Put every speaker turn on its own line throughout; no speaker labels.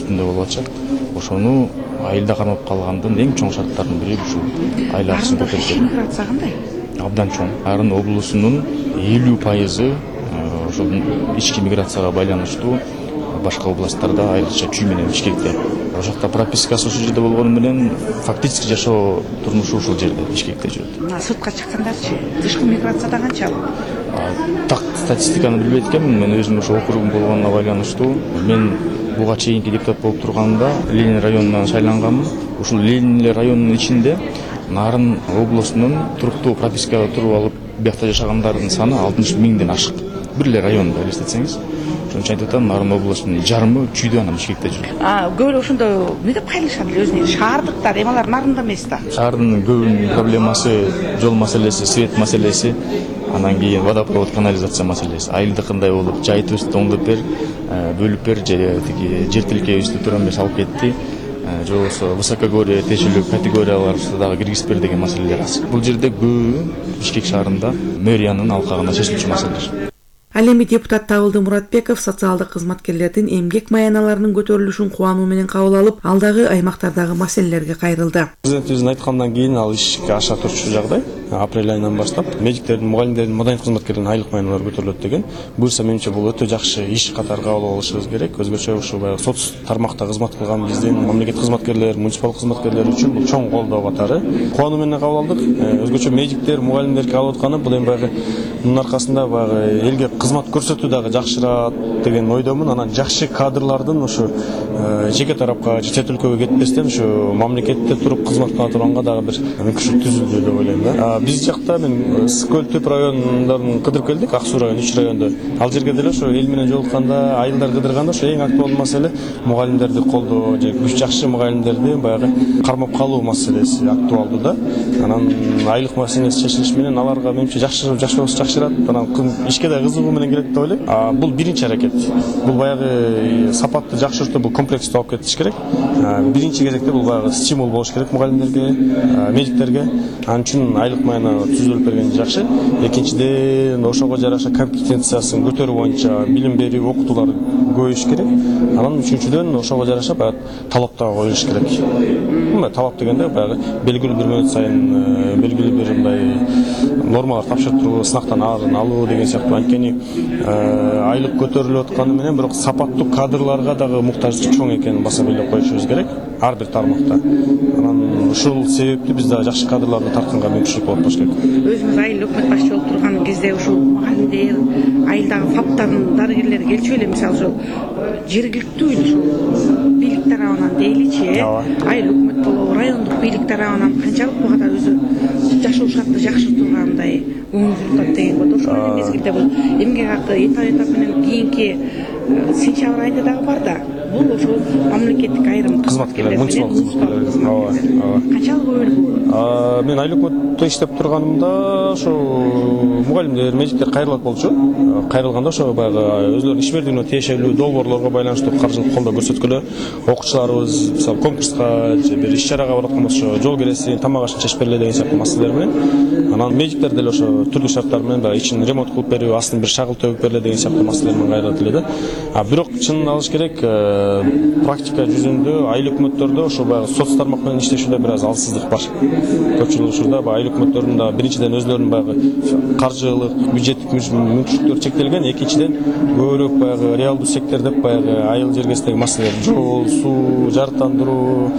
үстүндө болуп атышат. Ошону айылда кармап калгандын эң чоң шарттарынын бири ушул айыл акысын көтөрүп.
Миграция кандай?
Абдан чоң. Арын облусунун 50% ошол ички миграцияга байланыштуу башка областтарда, айрыкча Чүй менен Бишкекте. Ошол жакта пропискасы ушул жерде болгону менен фактически жашоо турмушу ушул жерде, Бишкекте жүрөт.
Сыртка чыккандарчы, тышкы миграцияда канчалык?
Так статистиканы билбейт экенмин. Мен өзүм ошо округум болгонуна байланыштуу. Мен буга чейинки депутат болуп турганда Ленин районунан шайланганмын. Ушул Ленин районунун ичинде Нарын облусунун туруктуу пропискада туруп алып, биякта жашагандардын саны 60 миңден ашык. Бир эле районда элестетсеңиз. Ошон үчүн айтып атам, Нарын облусунун жарымы Чүйдө, анан Бишкекте жүрөт.
Көп эле ошондо эмне деп кайрылышат эле өзүнө? Шаардыктар, эми алар Нарында эмес да.
Шаардын көбүнүн проблемасы жол маселеси, свет маселеси, анан кийин водопровод, канализация маселеси. Айылдыкындай болуп, жайытыбызды оңдоп бер, бөлүп бер, же тиги жер тилкебизди туран бер салып кетти. Же болбосо высокогорье тиешелүү категорияларыбызды дагы киргизип бер деген маселелер аз. Бул жерде көбү Бишкек шаарында мэриянын алкагында чечилчү маселелер.
Ал эми депутат Табылды Муратбеков социалдык кызматкерлердин эмгек маяналарынын көтөрүлүшүн кубануу менен кабыл алып, алдагы аймактардагы маселелерге кайрылды.
Президентибиздин айткандан кийин ал ишке аша турчу жагдай. Апрель айынан баштап медиктердин, мугалимдердин, мадайын кызматкерлердин айлык маянalары көтөрүлөт деген. Буюрса менимче бул өтө жакшы иш катары кабыл алышыбыз керек. Өзгөчө ушул баягы соц тармакта кызмат кылган биздин мамлекет кызматкерлери, муниципал кызматкерлери үчүн бул чоң колдоо катары. Кубануу менен кабыл алдык. Өзгөчө медиктер, мугалимдер кабыл атканы бул эми баягы мунун аркасында баягы элге кызмат көрсөтүү дагы жакшырат деген ойдомун. Анан жакшы кадрлардын ошо жеке тарапка же чет өлкөгө кетпестен ошо мамлекетте туруп кызмат кыла турганга дагы бир мүмкүнчүлүк түзүлдү деп ойлойм да. Биз жакта мен Скөл Төп райондорун кыдырып келдик, Ак Суу району, Үч райондо. Ал жерге деле ошо эл менен жолукканда, айылдар кыдырганда ошо эң актуалдуу маселе мугалимдерди колдоо же жакшы мугалимдерди баягы кармап калуу маселеси актуалдуу да. Анан айлык маселеси чечилиш менен аларга менимче жакшы болсо жакшырат. Анан ишке да кызыгуу менен келет деп ойлойм. Бул биринчи аракет. Бул баягы сапатты жакшыртуу, бул комплекстүү алып кетиш керек. Биринчи кезекте бул баягы стимул болуш керек мугалимдерге, медиктерге. Анын үчүн айлык маяна түзүлүп берген жакшы. Экинчиден ошого жараша компетенциясын көтөрүү боюнча билим берүү, окутуулар көбөйүш керек. Анан үчүнчүдөн ошого жараша баягы талап да коюлуш керек. Талап дегенде баягы белгилүү бир мөөнөт сайын белгилүү бир мындай нормалар тапшыртуу, сынактан алуу деген сыяктуу. Анткени айлык көтөрүлүп атканы менен бирок сапаттуу кадрларга дагы муктаждык чоң экенин баса белгилеп коюшубуз керек ар бир тармакта. Анан ушул себепти биз дагы жакшы кадрларды тартканга мүмкүнчүлүк болуп болуш керек.
Өзүңүз айыл өкмөт башчы болуп турган кезде ушул мугалимдер, айылдагы фаптардын дарыгерлери келчү эле, мисалы ушул жергиликтүү ушул бийлик тарабынан дейличи, айыл өкмөт болобу, райондук бийлик тарабынан канчалык буга да өзү жашоо шартты жакшыртуугандай көңүл бурулат деген болду. Ошол эле мезгилде бул эмгек акы этап менен кийинки сентябрь айында дагы бар да. Бул ошол мамлекеттик айрым
кызматкерлер, муниципал кызматкерлер.
Канчалык көбүрөөк?
Мен айыл өкмөттө иштеп турганымда ошо мугалимдер, медиктер кайрылат болчу. Кайрылганда ошо баягы өзлөрүнүн ишмердигине тиешелүү долбоорлорго байланыштуу каржылык колдоо көрсөткөлө, окуучуларыбыз мисалы конкурска же бир иш-чарага бараткан болсо жол киресин, тамак ашын чечип берле деген сыяктуу маселелер менен. Анан медиктер деле ошо түрдүү шарттар менен баягы ичин ремонт кылып берүү, астын бир шагыл төгүп берле деген сыяктуу маселелер менен кайрылат эле да. Бирок чынын алыш керек, практика жүзүндө айыл өкмөттөрдө ошо баягы соц тармак менен иштешүүдө бир аз алсыздык бар. Көпчүлүк учурда айыл өкмөттөрүнүн да биринчиден өзлөрүнүн баягы каржылык, бюджеттик мүмкүнчүлүктөрү чектелген, экинчиден көбүрөөк баягы реалдуу сектор деп баягы айыл жергесиндеги маселелер, жол, суу, жарыктандыруу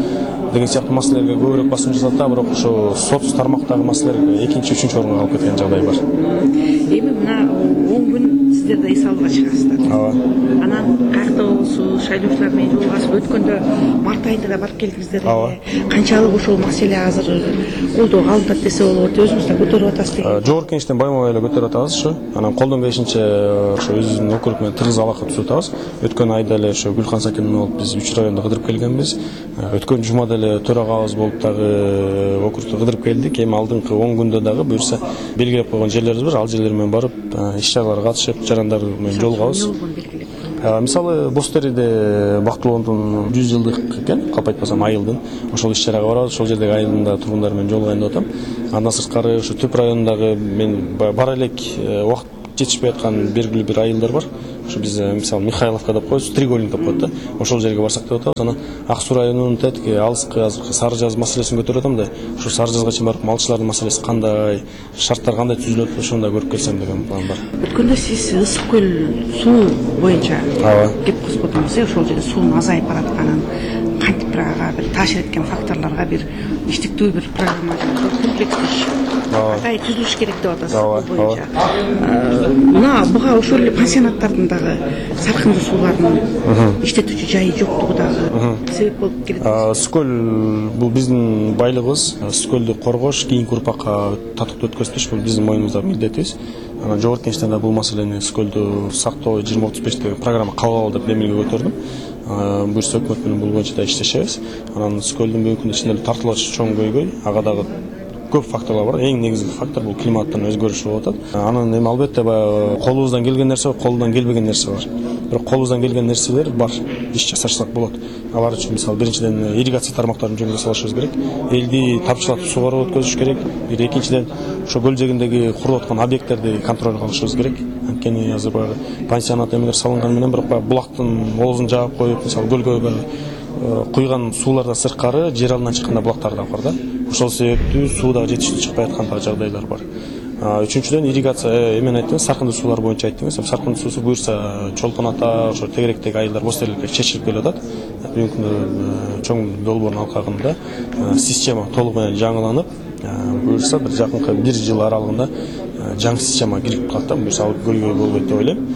деген сыяктуу маселелерге көбүрөөк басым жасалат да, бирок ошо соц тармактагы маселелер экинчи, үчүнчү орунга калып кеткен жагдай бар.
Эми мына 10 күн сиздер да эс алууга чыгасыздар. Анан каякта болсуз, шайлоочулар менен жолугасып, өткөндө март айында да барып келдиңиздер эле. Канчалык ошол маселе азыр колдоого алынат десе болот, өзүңүз да көтөрүп атасыз деген.
Жогорку кеңештен байма-бай эле көтөрүп атабыз ошо. Анан колдон келишинче ошо өзүбүздүн округ менен тыгыз алака түзүп атабыз. Өткөн айда эле ошо Гүлкан Сакин болуп биз Үч райондо кыдырып келгенбиз. Өткөн жумада эле төрагабыз болуп дагы округду кыдырып келдик. Эми алдыңкы 10 күндө дагы буюрса белгилеп койгон жерлерибиз бар. Ал жерлер менен барып, иш-чараларга катышып, жарандар менен жолугабыз. Мисалы Бостериде Бактылоондун 100 жылдык экен, калп айтпасам айылдын. Ошол иш-чарага барабыз, ошол жердеги айылдын тургундары менен жолугайын деп атам. Андан сырткары ошо Төп районундагы мен бара элек убакыт жетишпей аткан белгилүү бир айылдар бар. Ошо биз мисалы Михайловка деп коебуз, Треугольник деп коет да. Ошол жерге барсак деп атабыз. Анан Ак Суу районунун тетиги алыскы азыркы Сары Жаз маселесин көтөрүп атам да. Ошо Сары Жазга чейин барып малчылардын маселеси кандай, шарттар кандай түзүлөт, ошону да көрүп келсем деген план бар.
Өткөндө сиз Ысык көл суу боюнча кеп козгодуңуз, ошол жерде суунун азайып баратканын, кантип бир таасир эткен факторлорго бир иштиктүү бир программа комплекстүү кандай түзүлүш керек деп атасыз бул боюнча. Мына буга ошол эле пансионаттардын дагы саркындуу суулардын иштетүүчү жайы жоктугу дагы себеп болуп келет.
Ысык көл бул биздин байлыгыбыз. Ысык көлдү коргош, кийинки урпакка татыктуу өткөзүш бул биздин мойнубуздагы милдетибиз. Анан жогорку кеңештен бул маселени Ысык көлдү сактоо 2035 деген программа кабыл алуу деп эмелге көтөрдүм. Буюрса өкмөт менен бул боюнча да иштешебиз. Анан Ысык көлдүн бүгүнкү күндө ичинде тартылгыч чоң көйгөй, ага дагы көп факторлор бар. Эң негизги фактор бул климаттын өзгөрүшү болуп атат. Анан эми албетте баягы колубуздан келген нерсе бар, колунан келбеген нерсе бар. Бирок колубуздан келген нерселер бар. Иш жасашсак болот. Алар үчүн мисалы биринчиден ирригация тармактарын жөнгө салышыбыз керек. Элди тапчылатып сугарып өткөзүш керек. Экинчиден ошо көл жээгиндеги куруп аткан объекттерди контролго алышыбыз керек. Анткени азыр баягы пансионат эмелер салынган менен бирок баягы булактын оозун жаап коюп, мисалы көлгө куйган суулардан сырткары жер алдынан чыкканда булактар да бар да. Ошол себептүү суу да жетиштүү чыкпай аткан жагдайлар бар. Үчүнчүдөн ирригация эмен айттыңыз, саркындуу суулар боюнча айттыңыз. Саркындуу суусу буюрса Чолпон ата, ошо тегеректеги айылдар, боз терликке чечилип келип атат. Бүгүнкү күндө чоң долбоордун алкагында система толук менен жаңыланып, буюрса бир жакынкы 1 жыл аралыгында жаңы система кирип калат да. Буюрса ал көйгөй болбойт деп ойлойм.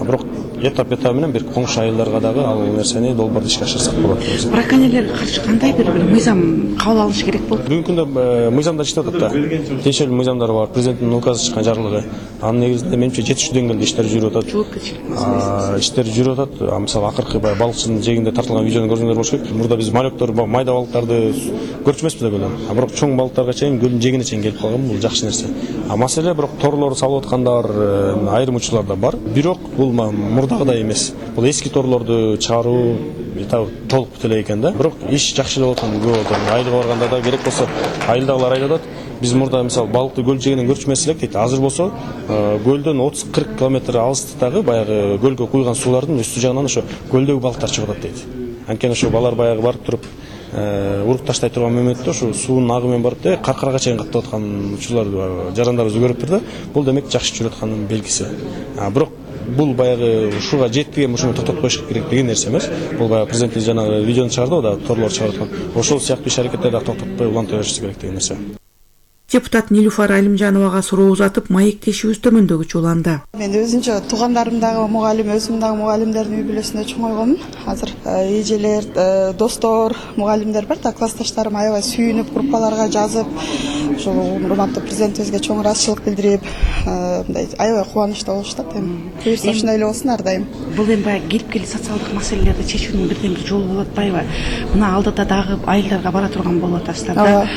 Бирок этап менен бир коңшу айылдарга дагы ал нерсени долбоорду ишке ашырсак болот.
Браконьерлерге каршы кандай бир мыйзам кабыл алынышы керек болот?
Бүгүнкү күндө мыйзамдар иштеп атат да. Тиешелүү мыйзамдар бар, президенттин указы чыккан жарлыгы. Анын негизинде менимче жетиштүү деңгээлде иштер жүрүп атат. Иштер жүрүп атат. Мисалы акыркы балыкчынын жээгинде тартылган видеону көрсөңөр болуш керек. Мурда биз малектор, майда балыктарды көрчү эмеспиз деп ойлойм. Бирок чоң балыктарга чейин көлдүн жээгине чейин келип калган, бул жакшы нерсе. Маселе бирок торлорду салып аткандар айрым учурларда бар. Бирок бул мурдагыдай эмес. Бул эски торлорду чыгаруу толук бүтө элек экен да. Бирок иш жакшылап аткан көп болот. Айылга барганда да керек болсо айылдагылар айтып атат. Биз мурда мисалы балыкты көл жээгинен көрчү эмес элек дейт. Азыр болсо көлдөн 30-40 километр алыстыктагы баягы көлгө куйган суулардын үстү жагынан ошо көлдөгү балыктар чыгып атат дейт. Анткени ошо балар баягы барып туруп уруп таштай турган моментте ошо суунун агы менен барып каркарага чейин каттап аткан учурларды жарандарыбыз көрүптүр да. Бул демек жакшы жүрүп атканын белгиси. Бирок бул баягы ушуга жетти, ушуну токтотуп коюш керек деген нерсе эмес. Бул баягы президенттин жанагы видеону чыгарды да, торлор чыгарып аткан. Ошол сыяктуу иш аракеттерди токтотпой улантыра беришибиз керек деген нерсе.
Депутат Нилуфар Алимжановага суроо узатып, маектешибиз төмөндөгүчө уланды.
Мен өзүнчө туугандарым дагы мугалим, өзүм дагы мугалимдердин үй бүлөсүндө чоңойгонмун. Азыр эжелер, достор, мугалимдер бар да, классташтарым аябай сүйүнүп, группаларга жазып, ошол урматтуу президентибизге чоң ыраазычылык билдирип, мындай аябай кубанычта болушат. Буюрса ушундай эле болсун ар дайым.
Бул эми баягы келип келе социалдык маселелерди чечүүнүн бирден бир жолу болуп атпайбы? Мына алдыда дагы айылдарга бара турган болуп атасыздар да.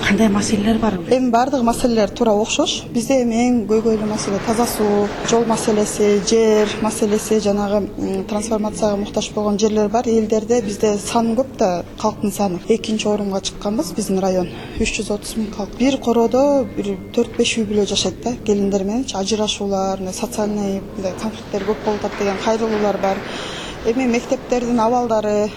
Кандай маселелер бар?
Бардык маселелер туура окшош. Бизде эми эң көйгөйлүү маселе таза суу, жол маселеси, жер маселеси, жанагы трансформацияга муктаж болгон жерлер бар. Элдерде бизде сан көп да, калктын саны. 2-орунга чыкканбыз биздин район. 330 000 калк. Бир короодо бир 4-5 үй бүлө жашайт да. Келиндер менен ажырашуулар, социальный конфликттер көп болуп атат деген кайрылуулар бар. Эми мектептердин абалдары,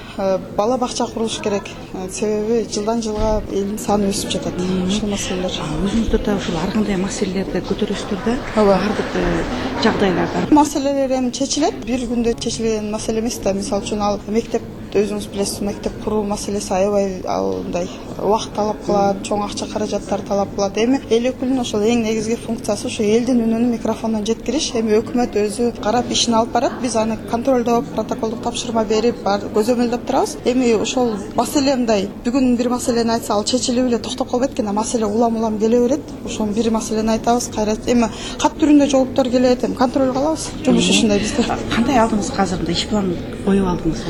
бала бакча курулуш керек. Себеби жылдан жылга элдин саны өсүп жатат. Ушул маселелер.
Өзүңүздөр да ушул ар кандай маселелерди көтөрөсүздөр да? Бардык жагдайларда.
Маселелер эми чечилет. Бир күндө чечилген маселе эмес да. Мисалы үчүн ал мектеп өзүңүз билесиз, мектеп куруу маселеси аябай мындай убакыт талап кылат, чоң акча каражаттар талап кылат. Эми эл өкүлүнүн ошол эң негизги функциясы ошо элдин үнүн микрофондон жеткириш. Эми өкмөт өзү карап ишин алып барат, биз аны контролдоп, протоколдук тапшырма берип, көзөмөлдөп турабыз. Эми ошол маселе мындай, бүгүн бир маселени айтса, ал чечилип эле токтоп калбайт экен, маселе улам келе берет. Ошол бир маселени айтабыз, кайра эми кат түрүндө жооптор келет, эми контролго алабыз. Жумуш ушундай бизде.
Кандай алдыңыз азыр иш план коюп алдыңыз?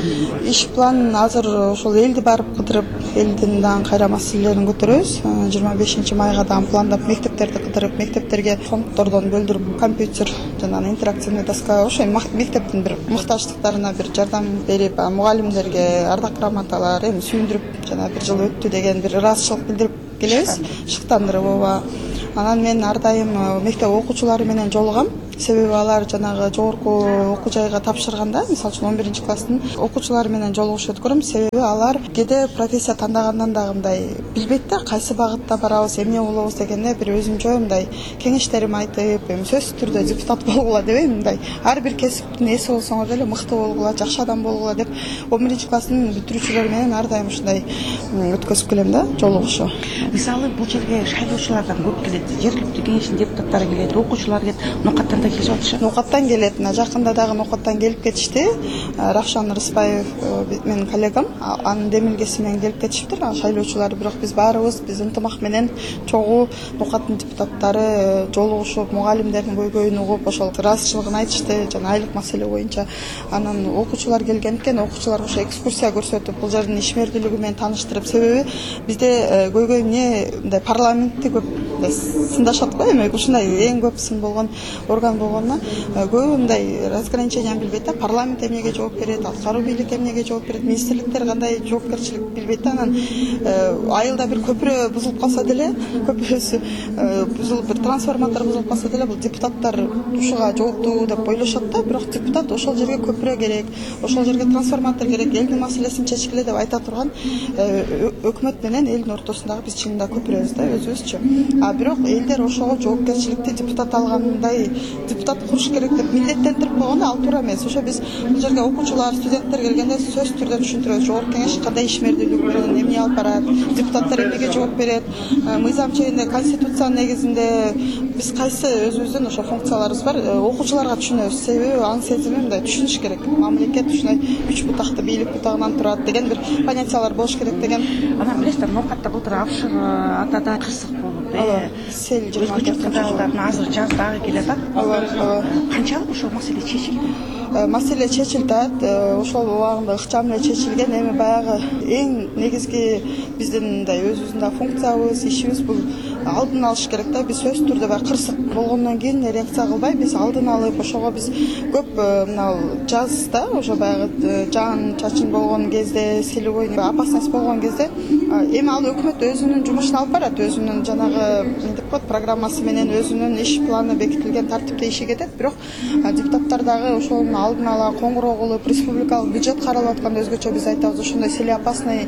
Иш план азыр ошол элди барып кыдырып, элдин дагы кайра маселелерин көтөрөбүз. 25 майга дагы пландап мектептерди кыдырып, мектептерге фонддордон бөлдүрүп, компьютер жана интерактивный доска, ошо мектептин бир муктаждыктарына бир жардам берип, мугалимдерге ардак грамоталар эми сүйүндүрүп, жана бир жыл өттү деген бир ыраазычылык билдирип келебиз, шыктандырып ооба. Анан мен ар дайым мектеп окуучулары менен жолугам. себеби алар жанагы жогорку окуу жайга тапшырганда, мисалы үчүн 11-класстын окуучулары менен жолугушуп өткөрөм. Себеби алар кээде профессия тандагандан дагы мындай билбейт да, кайсы багытта барабыз, эмне болобуз дегенде бир өзүмчө мындай кеңештерим айтып, сөзсүз түрдө депутат болгула дебейм, мындай ар бир кесиптин ээси болсоңор деле мыкты болгула, жакшы адам болгула деп 11-класстын бүтүрүүчүлөр менен ар дайым ушундай өткөзүп келем да, жолугушуу.
Мисалы бул жерге шайлоочулардан көп келет, жергиликтүү кеңештин депутаттары келет, окуучулар келет, Ноокаттан да келип атышат.
Ноокаттан келет, жакында дагы Ноокаттан келип кетишти. Равшан Рыспаев менин коллегам, анын демилгеси менен келип кетишиптир. Шайлоочулар, бирок биз баарыбыз ынтымак менен чогуу Ноокаттын депутаттары жолугушуп, мугалимдердин көйгөйүн угуп, ошол ыраазычылыгын айтышты, жана айлык маселе боюнча. Анан окуучулар келген экен, окуучуларга ошо экскурсия көрсөтүп, бул жердин ишмердүүлүгү менен тааныштырып, себеби бизде көйгөй эмне, мындай парламентти көп сындашат го, эми ушундай эң көп сын болгон орган болгонуна көбү мындай разграничение билбейт да, парламент эмнеге жооп берет, аткаруу бийлик эмнеге жооп берет, министрликтер кандай жоопкерчилик билбейт да. Анан айылда бир көпүрө бузулуп калса деле, көпүрөсү бузулуп, бир трансформатор бузулуп калса деле, бул депутаттар ушуга жооптуу деп ойлошот да, бирок депутат ошол жерге көпүрө керек, ошол жерге трансформатор керек, элдин маселесин чечкиле деп айта турган өкмөт менен элдин ортосундагы биз чынында көпүрөбүз да, өзүбүзчү. Бирок элдер ошого жоопкерчиликти депутат алгандай депутат куруш керек деп милдеттендирип койгондо ал туура эмес. Ошо биз бул жерге окуучулар, студенттер келгенде сөзсүз түрдө түшүндүрөбүз. Жогорку кеңеш кандай ишмердүүлүк менен эмне алып барат, депутаттар эмнеге жооп берет, мыйзам чегинде, конституциянын негизинде биз кайсы өзүбүздүн ошо функцияларыбыз бар, окуучуларга түшүнөбүз. Себеби аң сезими мындай түшүнүш керек. Мамлекет ушундай 3 бутакты, бийлик бутагынан турат деген бир понятиялар болуш керек деген.
Анан билесиздер, Ноокатта былтыр Авшыгы атада кырсык болуп,
сел
24 азыр жаз дагы келатат. Канчалык ошол маселе чечилди?
Маселе чечилди, ошол убагында ыкчам эле чечилген. Эми баягы эң негизги биздин мындай өзүбүздүн да функциябыз, ишибиз бул алдын алыш керек да. Биз сөзсүз түрдө баягы кырсык болгондон кийин реакция кылбай, биз алдын алып, ошого биз көп мына жазда ошо баягы жаан чачын болгон кезде, селевой опасность болгон кезде эми ал өкмөт өзүнүн жумушун алып барат, өзүнүн жанагы эмне деп коет программасы менен өзүнүн иш планы бекитилген тартипте иши кетет. Бирок депутаттар дагы ошонун алдын ала коңгуроо кылып, республикалык бюджет каралып атканда өзгөчө биз айтабыз, ошондой селеопасный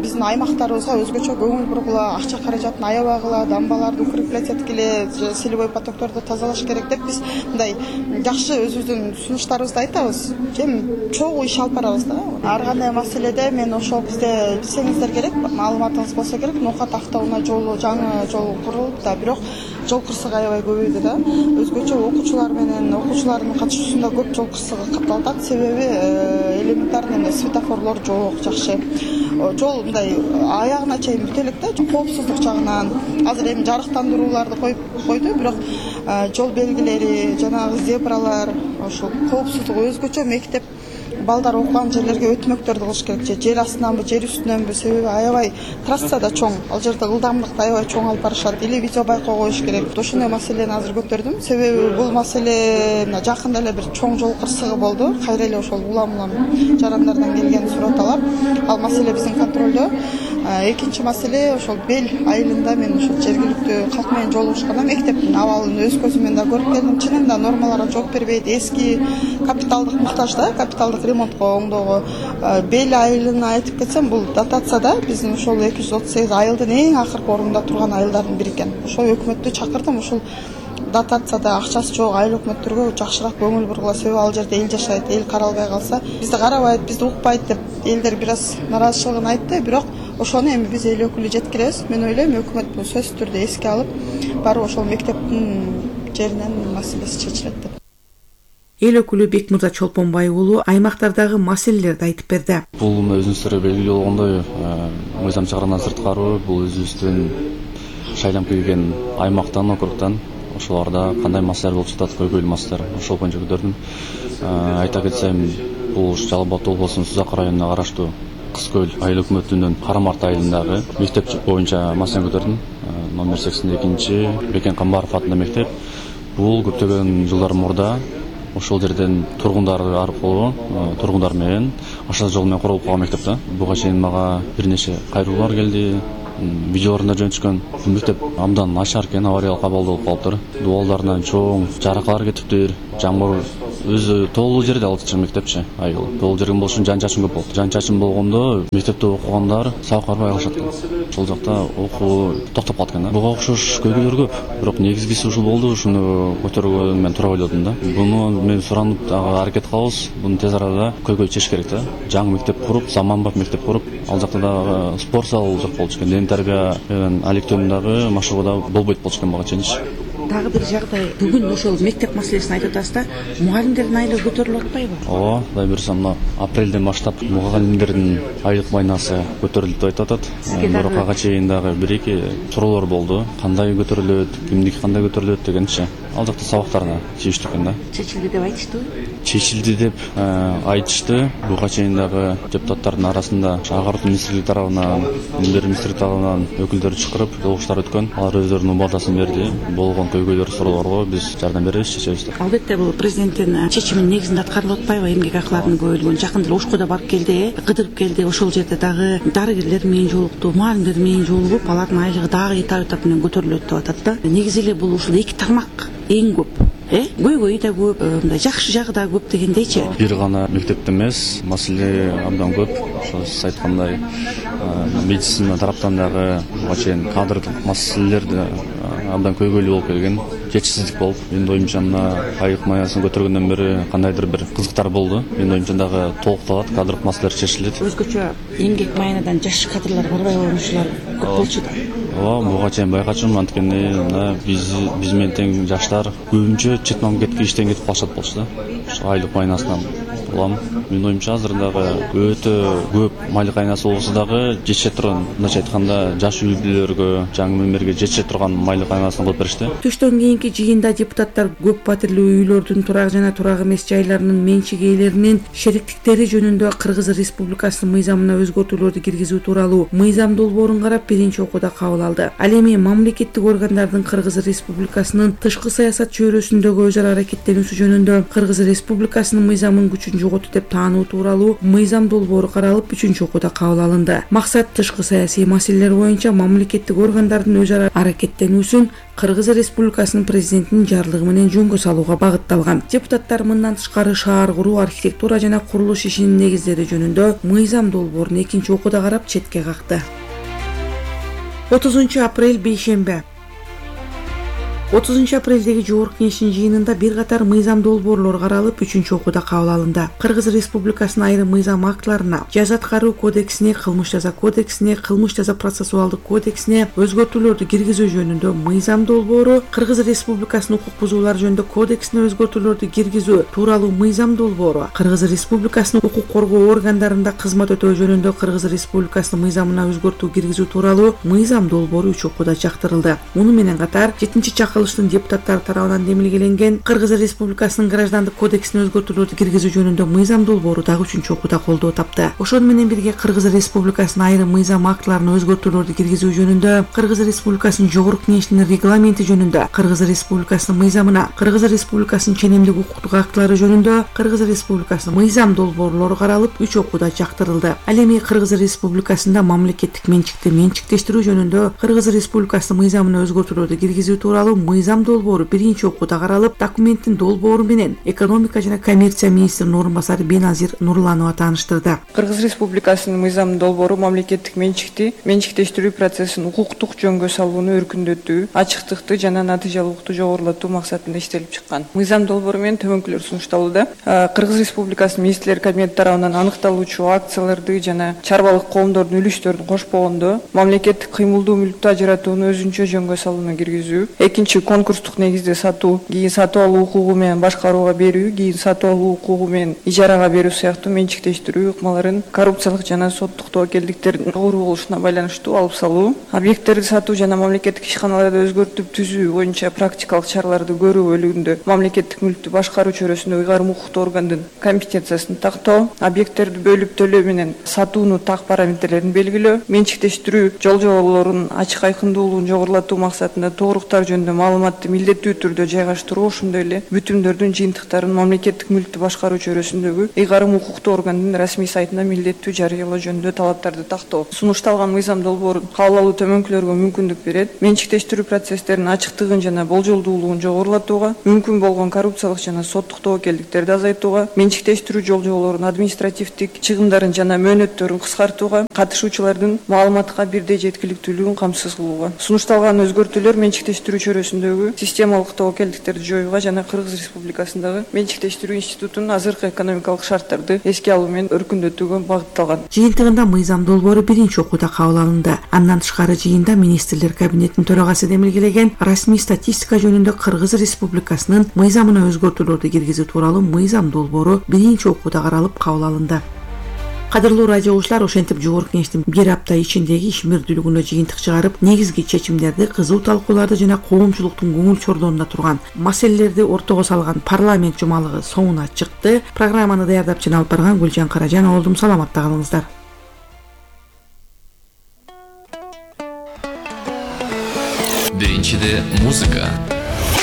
биздин аймактарыбызга өзгөчө көңүл бургула, акча каражатын аябагыла, дамбаларды укреплять эткиле, селевой потокторду тазалаш керек деп биз мындай жакшы өзүбүздүн сунуштарыбызды айтабыз. Эми чогуу иш алып барабыз да. Ар кандай маселеде мен ошол бизде билсеңиздер керек, маалыматыңыз болсо керек, Ноокат автоунаа жолу, жаңы жол курулуп да, бирок жол кырсыгы аябай көбөйдү да. Өзгөчө окуучулар менен окуучулардын катышуусунда көп жол кырсыгы катталып атат. Себеби элементарный светофорлор жок, жакшы. Жол мындай аягына чейин бүтө элек да, коопсуздук жагынан. Азыр эми жарыктандырууларды койду, бирок жол белгилери, жанагы зебралар, ошол коопсуздук өзгөчө мектеп балдар окуган жерлерге өтмөктөрдү кылыш керек, же жер астынанбы, жер үстүнөнбү, себеби аябай трасса да чоң, ал жерде ылдамдыкты аябай чоң алып барышат, или видео байкоо коюш керек. Ошондой маселени азыр көтөрдүм, себеби бул маселе жакында эле бир чоң жол кырсыгы болду, кайра эле ошол улам жарандардан келген суротталар, ал маселе биздин контролдо. Экинчи маселе ошол Бел айылында мен ошол жергиликтүү калк менен жолугушканда мектептин абалын өз көзүм менен да көрүп келдим. Чынында нормаларга жооп бербейт, эски капиталдык муктаж да, капиталдык ремонтко оңдоого. Бел айылын айтып кетсем, бул дотацияда биздин ошол 238 айылдын эң акыркы орунда турган айылдардын бири экен. Ошол өкмөттү чакырдым, ошол дотацияда акчасы жок айыл өкмөттөргө жакшыраак көңүл бургула, себеби ал жерде эл жашайт, эл каралбай калса, бизди карабайт, бизди укпайт деп элдер бир аз нараазычылыгын айтты, бирок ошону эми биз эл өкүлү жеткиребиз. Мен ойлойм, өкмөт бул сөзсүз түрдө эске алып, барып ошол мектептин жеринен маселеси чечилет деп.
Эл өкүлү Бекмырза Чолпонбай уулу аймактардагы маселелерди айтып берди.
Бул өзүңүздөргө белгилүү болгондой, мыйзам чыгаруудан сырткары бул өзүбүздүн шайланып келген аймактан, округтан ошолордо кандай маселелер болуп жатат, көйгөйлүү маселелер, ошол боюнча көтөрдүм. Айта кетсем, бул Жалал Абад облусунун Сузак районуна караштуу Кыз Көл айыл өкмөтүнүн Карамарт айылындагы мектеп боюнча маселени көтөрдүм. Номер 82 Бекен Камбаров атындагы мектеп. Бул көптөгөн жылдар мурда ошол жерден тургундар аркылуу, тургундар менен ашат жол менен курулуп калган мектеп да. Буга чейин мага бир нече кайрылуулар келди. видеолорунда жөнөтүшкөн мектеп абдан начар экен, авариялык абалда болуп калыптыр. Дубалдарынан чоң жаракалар кетиптир. Жамгыр өзү тоолуу жерде алчу мектепчи, айыл. Тоолуу жерде болуш үчүн жан чачын көп болот. Жан чачын болгондо мектепте окугандар сабак барбай калышат экен. Ошол жакта окуу токтоп калат экен да. Буга окшош көйгөйлөр көп. Бирок негизгиси ушул болду, ушуну көтөргөнгө мен туура ойлодум да. Буну мен суранып дагы аракет кылабыз. Буну тез арада көйгөй чечиш керек да. Жаңы мектеп куруп, заманбап мектеп куруп, ал жакта дагы спорт зал жок болчу экен. Ден тарбия алектөөнүн дагы машыгуу болбойт болчу экен буга чейинчи.
Дагы бир жагдай, бүгүн ошол мектеп маселесин айтып атасыз да, мугалимдердин айлыгы көтөрүлүп атпайбы?
Ооба, Кудай буюрса мына апрелден баштап мугалимдердин айлык майнасы көтөрүлдү деп айтып атат. Бирок ага чейин дагы бир-эки суроолор болду. Кандай көтөрүлөт, кимдики кандай көтөрүлөт дегенчи. Ал жакта сабактарына тийиштүү экен да.
Чечилди деп айтыштыбы?
Чечилди деп айтышты. Буга чейин дагы депутаттардын арасында агартуу министрлиги тарабынан, билим министрлиги тарабынан өкүлдөр чакырып, жолугуштар өткөн. Алар өздөрүнүн убадасы берди. Болгон көйгөйлөр, суроолорго биз жардам беребиз, чечебиз деп.
Албетте бул президенттин чечиминин негизинде аткарылып атпайбы эмгек акыларынын көбөлүгүн? Жакында эле Ошкойдо барып келди, кыдырып келди. Ошол жерде дагы дарыгерлер менен жолукту, мугалимдер менен жолугуп, алардын айлыгы дагы этап менен көтөрүлөт деп атат да. Негизи эле бул ушул эки тармак эң көп. Көйгөй да көп, мындай жакшы жагы да көп дегендейчи.
Бир гана мектепте эмес, маселе абдан көп. Ошо сиз айткандай медицина тараптан дагы буга чейин кадрлык маселелер абдан көйгөйлүү болуп келген, жетишсиздик болуп. Менин оюмча мына айлык майнасын көтөргөндөн бери кандайдыр бир кызыктар болду. Менин оюмча дагы толукталат, кадрлык маселелер чечилет.
Өзгөчө эмгек майнадан жаш кадрлар барбай калган көп болчу да.
Ооба, буга чейин байкачумун, анткени мына биз менен тең жаштар көбүнчө чет мамлекетке иштен кетип калышат болчу да. Ошо айлык майнасынан улам. Менин оюмча азыр дагы өтө көп айлык майнасы болсо дагы жетише турган, мындайча айтканда, жаш үй бүлөлөргө, жаңы мемберге жетише турган айлык майнасын кылып беришти.
Түштөн кийинки жыйында депутаттар көп патирлүү үйлөрдүн турак жана турак эмес жайларынын менчик ээлеринин шериктиктери жөнүндө Кыргыз Республикасынын мыйзамына өзгөртүүлөрдү киргизүү тууралуу мыйзам долбоорун карап биринчи окууда кабыл алды. Ал эми мамлекеттик органдардын Кыргыз Республикасынын тышкы саясат чөйрөсүндөгү өз ара аракеттенүүсү жөнүндө Кыргыз Республикасынын мыйзамын күчүн жоготуу деп таануу тууралуу мыйзам долбоору каралып үчүнчү окууда кабыл алынды. Максат тышкы саясий маселелер боюнча мамлекеттик органдардын өз ара аракеттенүүсүн Кыргыз Республикасынын президентинин жарлыгы менен жөнгө салууга багытталган. Депутаттар мындан тышкары шаар куруу, архитектура жана курулуш ишинин негиздери жөнүндө мыйзам долбоорун экинчи окууда карап четке какты. 30 апрель бейшембе. 30 апрелдеги жогорку кеңештин жыйынында бир катар мыйзам долбоорлор каралып, үчүнчү окууда кабыл алынды. Кыргыз Республикасынын айрым мыйзам актыларына, жаза аткаруу кодексине, кылмыш жаза кодексине, кылмыш жаза процессуалдык кодексине өзгөртүүлөрдү киргизүү жөнүндө мыйзам долбоору, Кыргыз Республикасынын укук бузуулар жөнүндө кодексине өзгөртүүлөрдү киргизүү тууралуу мыйзам долбоору, Кыргыз Республикасынын укук коргоо органдарында кызмат өтөө жөнүндө Кыргыз Республикасынын мыйзамына өзгөртүү киргизүү тууралуу мыйзам долбоору үч окууда жактырылды. Муну менен катар 7-чакырылыштын депутаттары тарабынан демилгеленген Кыргыз Республикасынын граждандык кодексине өзгөртүүлөрдү киргизүү жөнүндө мыйзам долбоору дагы үчүнчү окууда колдоо тапты. Ошону менен бирге Кыргыз Республикасынын айрым мыйзам актыларына өзгөртүүлөрдү киргизүү жөнүндө Кыргыз Республикасынын жогорку кеңешинин регламенти жөнүндө, Кыргыз Республикасынын мыйзамына, Кыргыз Республикасынын ченемдик укуктук актылары жөнүндө Кыргыз Республикасынын мыйзам долбоорлору каралып үч окууда жактырылды. Ал эми Кыргыз Республикасында мамлекеттик менчикти менчиктештирүү жөнүндө Кыргыз Республикасынын мыйзамына өзгөртүүлөрдү киргизүү тууралуу мыйзам долбоору биринчи окууда каралып, документтин долбоору менен экономика жана коммерция министринин орун басары Беназир Нурланова тааныштырды.
Кыргыз Республикасынын мыйзам долбоору мамлекеттик менчиктештирүү процессин укуктук жөнгө салууну өркүндөтүү, ачыктыкты жана натыйжалуулукту жогорулатуу максатында иштелип чыккан. Мыйзам долбоору менен төмөнкүлөр сунушталууда. Кыргыз Республикасынын министрлер кабинети тарабынан аныкталуучу акцияларды жана чарбалык коомдордун үлүштөрүн кошпогондо мамлекеттик кыймылдуу мүлктү ажыратууну өзүнчө жөнгө салууну киргизүү. Экинчи, конкурстук негизде сатуу, кийин сатып алуу укугу менен башкарууга берүү, кийин сатып алуу укугу менен ижарага берүү сыяктуу менчиктештирүү ыкмаларын коррупциялык жана соттук тобокелдиктердин жогору болушуна байланыштуу алып салуу, объекттерди сатуу жана мамлекеттик ишканаларды өзгөртүп түзүү боюнча практикалык чараларды көрүү бөлүгүндө мамлекеттик мүлктү башкаруу чөйрөсүндө ыйгарым укуктуу органдын компетенциясын тактоо, объекттерди бөлүп төлөө менен сатууну так параметрлерин белгилөө, менчиктештирүү жол-жоболорунун ачык айкындуулугун жогорулатуу максатында тууруктар жөнүндө маалыматты милдеттүү түрдө жайгаштыруу, ошондой эле бүтүмдөрдүн жыйынтыктарын мамлекеттик мүлктү башкаруу чөйрөсүндөгү ыйгарым укуктуу органдын расмий сайтына милдеттүү жарыялоо жөнүндө талаптарды тактоо. Сунушталган мыйзам долбоору кабыл алуу төмөнкүлөргө мүмкүндүк берет. Менчиктештирүү процесстеринин ачыктыгын жана болжолдуулугун жогорулатууга, мүмкүн болгон коррупциялык жана соттук тобокелдиктерди азайтууга, менчиктештирүү жол-жоболорунун административдик чыгымдарын жана мөөнөттөрүн кыскартууга, катышуучулардын маалыматка бирдей жеткиликтүүлүгүн камсыз кылууга. Сунушталган өзгөртүүлөр менчиктештирүү чөйрөсүндөгү системалык тобокелдиктерди жоюуга жана Кыргыз Республикасындагы менчиктештирүү институтунун азыркы экономикалык шарттарды эске алуу менен өркүндөтүүгө багытталган.
Жыйынтыгында мыйзам долбоору биринчи окууда кабыл алынды. Андан тышкары жыйында министрлер кабинетинин төрагасы демилгелеген расмий статистика жөнүндө Кыргыз Республикасынын мыйзамына өзгөртүүлөрдү киргизүү тууралуу мыйзам долбоору биринчи окууда каралып кабыл алынды. Кадырлуу радио угуучулар, ошентип жогорку кеңештин бир апта ичиндеги ишмердүүлүгүнө жыйынтык чыгарып, негизги чечимдерди, кызуу талкууларды жана коомчулуктун көңүл чордоонунда турган маселелерди ортого салган парламент жумалыгы соңуна чыкты. Программаны даярдап жана алып барган Гүлжан Каражан болдум. Саламатта калыңыздар.
Биринчиде музыка.